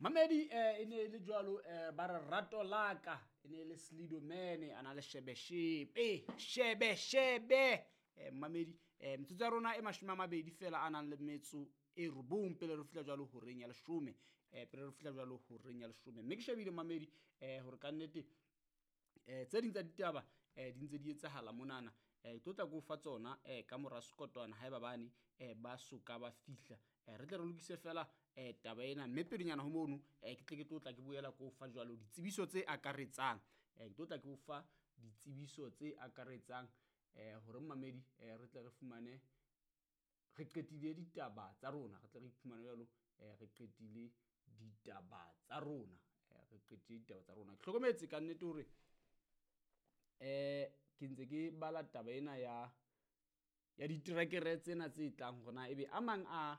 Mamedi e ne le jwalo ba re rato laka e ne le Slido Man a na le shebe shebe shebe shebe mamedi metsotso ya rona e 20 fela a nang le metso e 9 pele re fihla jwalo horeng ya 10 pele re fihla jwalo horeng ya 10 mme ke shebile mamedi hore ka nnete tse ding tsa ditaba di ntse di etsahala monana ke tlo tla ko fa tsona ka mora sekotwana haeba bane ba soka ba fihla re tle re lokise fela taba ena mme pelenyana ho mono ke tle ke tlo tla ke boela ko fa jwalo ditsebiso tse akaretsang ke tlo tla ke o fa ditsebiso tse akaretsang hore mamedi re tle re fumane re qetile ditaba tsa rona re tle re iphumane jwalo re qetile ditaba tsa rona re qetile ditaba tsa rona ke hlokometse ka nnete hore ke ntse ke bala taba ena ya diterekere tsena tse tlang hore na ebe a mang a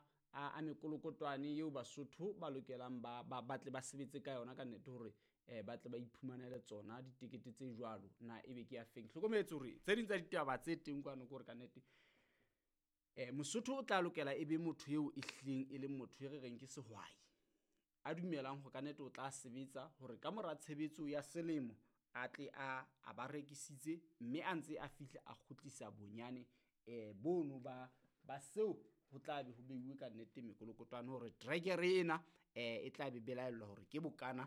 mekolokotwane eo Basotho ba lokelang ba tle ba sebetse ka yona ka nnete hore ba tle ba iphumanele tsona ditekete tse jwalo na ebe ke ya feng. Hlokometse hore tse ding tsa ditaba tse teng kwano ke hore ka nnete Mosotho o tla lokela ebe motho eo e hlileng e leng motho e re reng ke sehwai a dumelang hore ka nnete o tla sebetsa hore ka mora tshebetso ya selemo a tle a ba rekisitse mme a ntse a fihla a kgutlisa bonyane bono ba seo ho tla be ho beuwe ka nnete mekolokotwane hore trekere ena e tla be belaellwa hore ke bokana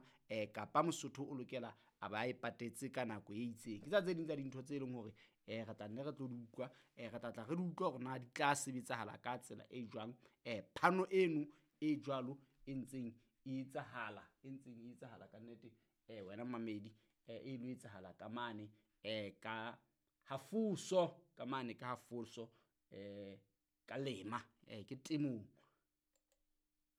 kapa Mosotho o lokela a ba e patetse ka nako e itseng. Ke tsa tse ding tsa dintho tse leng hore re tla nne re tlo di utlwa re tla tla re di utlwa hore na di tla sebetsahala ka tsela e jwang phano eno e jwalo e ntseng e etsahala e ntseng e etsahala ka nnete wena mamedi e lo etsahala ka mane ka hafoso ka mane ka hafoso ka lema ke temong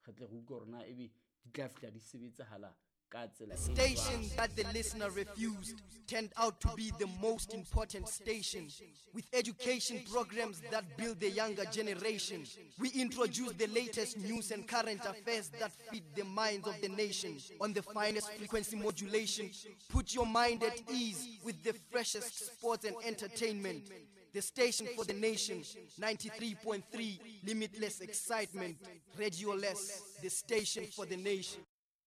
re tle re utlwe hore na ebe di tla fihla di sebetsahala ka tsela e Station that the listener refused turned out to be the most important station, with education programs that build the younger generation. We introduce the latest news and current affairs that feed the minds of the nation on the finest frequency modulation. Put your mind at ease with the freshest sports and entertainment. The station for the nation, 93.3, limitless excitement. Radio Less, the station for the nation.